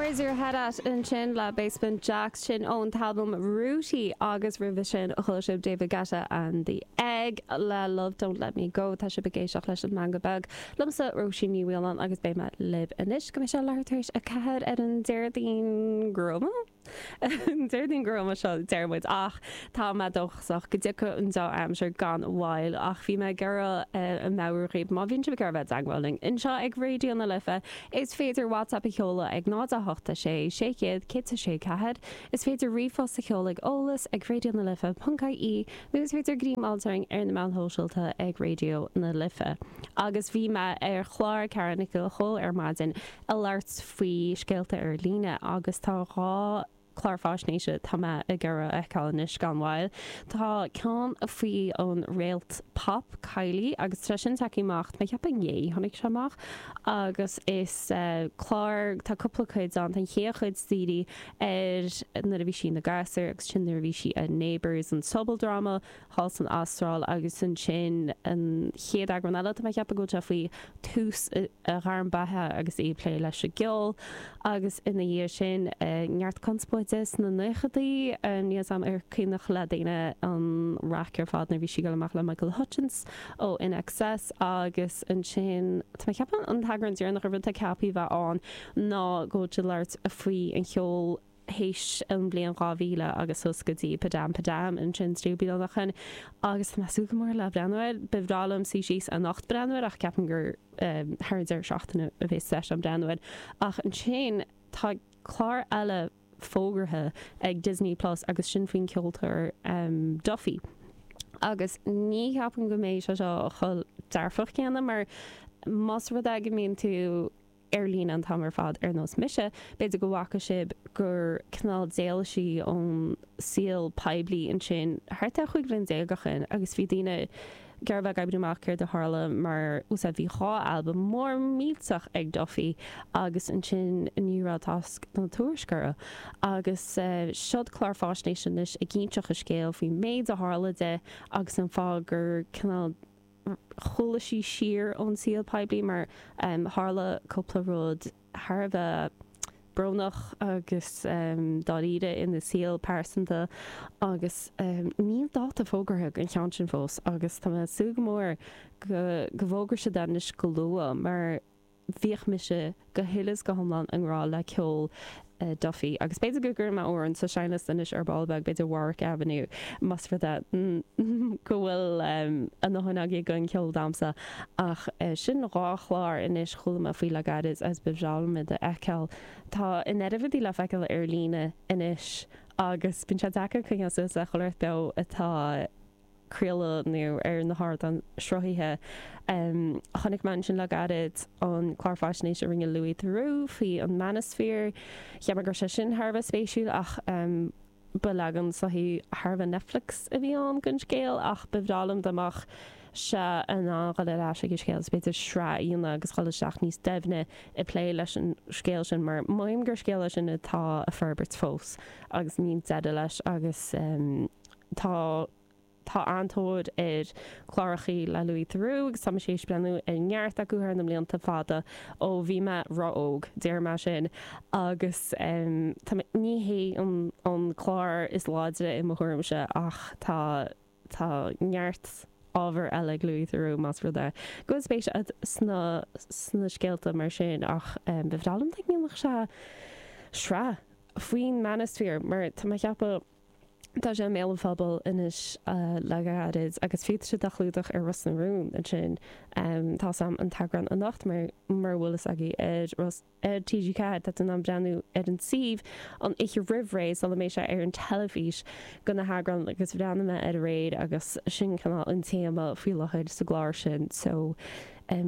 Where's Your Head At ansin le Basement Jaxx, sin ón t-albam Rooty agus roimhe sin chuala sibh David Guetta and The Egg le Love Don't Let Me Go. Tá sibh ag éisteacht leis An Meangadh Beag liomsa, Róisín Ní Mhaoláin agus beidh mé libh anois go mbeidh sé leathuair tar éis 4 ar an Déardaoin gruama. Déardaoin gruama seo, deir muid, ach tá mé dóchasach go dtiocfaidh an dea-aimsir gan mhoill. Ach bhí mé ag iarraidh meabhrú dhaoibh, má bhíonn sibh ag iarraidh bheith i dteagmháil linn anseo ag Raidió na Life, is féidir WhatsApp a sheoladh ag 0 8 6 600 106 4, is féidir ríomhphost a sheoladh ag eolas ag raidionalife.ie nó is féidir greim a fháilt orainn ar na meáin shóisialta ag Raidió na Life. Agus bhí mé ar chlár Ceara Nic Giolla Chóill ar maidin ag labhairt faoi scéalta ar líne agus tá 2 chlár faisnéise tá mé ag iarraidh a fheiceáil anois gan mhoill. Tá ceann faoi an réalt pop Kylie agus tá sin tagtha amach, tá mé ag ceapadh inné tháinig sé amach agus is clár, tá cúpla cuid ann, tá an chéad chuid dírithe ar nuair a bhí sí ina gasúr agus ansin nuair a bhí sí i Neighbours, an sobaldráma, thall san Astráil agus ansin an chéad eagrán eile, tá mé ag ceapadh go bhfuil sé faoi tús a gairm beatha agus í ag plé leis an gceol agus ina dhiaidh sin neart conspóide sna naochadaí, níl 'fhios a'm ar cuimhneach le daoine an raic ar fad nuair a bhí sí ag dul amach le Michael Hutchence ó INXS agus ansin tá mé ag ceapadh an t-eagrán deireanach an rud atá ceaptha a bheith ann ná go bhfuil siad ag labhairt faoi an cheol théis an bhliain 2000 agus suas go dtí Padam Padam ansin 30 bliain ó shin agus tá mé ag súil go mór le breathnú air. Ba bhreá liom suí síos anocht breathnú air ach ceapaim gur thar an deireadh seachtaine a bheas deis agam breathnú air. Ach ansin tá clár eile fógartha ag Disney Plus agus sin faoin ceoltóir Duffy. Agus ní cheapaim go mbeidh sé seo chomh dearfach céanna mar más rud é go mbíonn tú ar líne an t-am ar fad ar nós mise, b'fhéidir go bhfaca sibh gur cineál d'éalaigh sí ón saol poiblí ansin thart ar 15 bhliain ó shin agus bhí daoine ag iarraidh bheith ag oibriú amach céard a tharla mar úsáid bhí 2 albam mór millteach ag Duffy agus ansin ní raibh tásc ná tuairisc orthu agus seod clár fáisnéise anois ag inseacht a scéal faoin méid a tharla di agus an fáth gur cineál chúlaigh sí siar ón saol poiblí mar tharla cúpla rud thar a bheith brónach agus dáiríre ina saol pearsanta agus níl dáta fógartha don cheann sin fós agus tá mé ag súil go mór go bhfógróidh siad é anois go luath mar Bhíodh mise go huile is go hiomlán i ngrá le ceol Duffy agus b'fhéidir go gcuirfidh mé amhrán sa seinnliosta anois ar ball beag, b'fhéidir Warwick Avenue, más rud é go bhfuil a ndóthain agaibh den cheol damsa. Ach sin 2 chlár anois chuala mé faoi le gairid agus ba bhreá liom iad a fheiceáil. Tá an oiread rudaí le feiceáil ar líne anois agus bíonn sé deacair coinneáil suas le chuile shórt beo atá craoladh nó ar na hardáin sruthaithe. Chonaic mé ansin le gairid an clár faisnéise a rinne Louis Theroux faoi an manosphere. Cheap mé go raibh sé sin thar a bheith spéisiúil ach ba leagan soithí thar a bheith Netflix a bhí ann den scéal ach ba bhreá liom dá mbeadh sé in ann dhul ar ais ag an scéal is b'fhéidir sraith a dhéanamh agus dhul isteach níos doimhne ag plé leis an scéal sin mar mothaím gur scéal é sin atá ag forbairt fós agus níl deireadh leis agus Tá tá an-tóir ar chlárachaí le Louis Theroux agus tá mise théis breathnú ar neart acu thar na mblianta fada ó bhí mé ró-óg, déarfaidh mé sin, agus tá mé, ní hé an an clár is láidre i mo thuairimse ach tá tá neart ábhar eile ag Louis Theroux más rud é go bhfuil spéis agat sna sna scéalta mar sin ach ba bhreá liom dá ndéanfadh sé sraith faoin manosphere mar tá mé ag ceapadh Tá sé i mbéal an phobail anois le gairid agus fiú tá siad á chlúdach ar Ros na Rún ansin. Tá 's a'm an t-eagrán anocht mar mura bhfuil fhios agaibh ar Ros ar TG4 tá tú in ann breathnú ar an suíomh an oíche roimh ré sula mbeidh sé ar an teilifís go na heagráin agus bhreathnaigh mé air aréir agus sin cineál an téama faoi láthair sa gclár sin so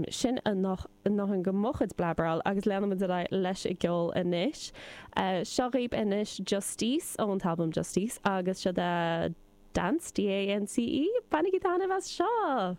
sin a ndóthain de mo chuid blabberáil agus leanfaimid ar aghaidh leis an gceol anois. Seo dhaoibh anois Justice ón t-albam Justice agus seo é Dance, D-A-N-C-E. Bainigí taitneamh as seo!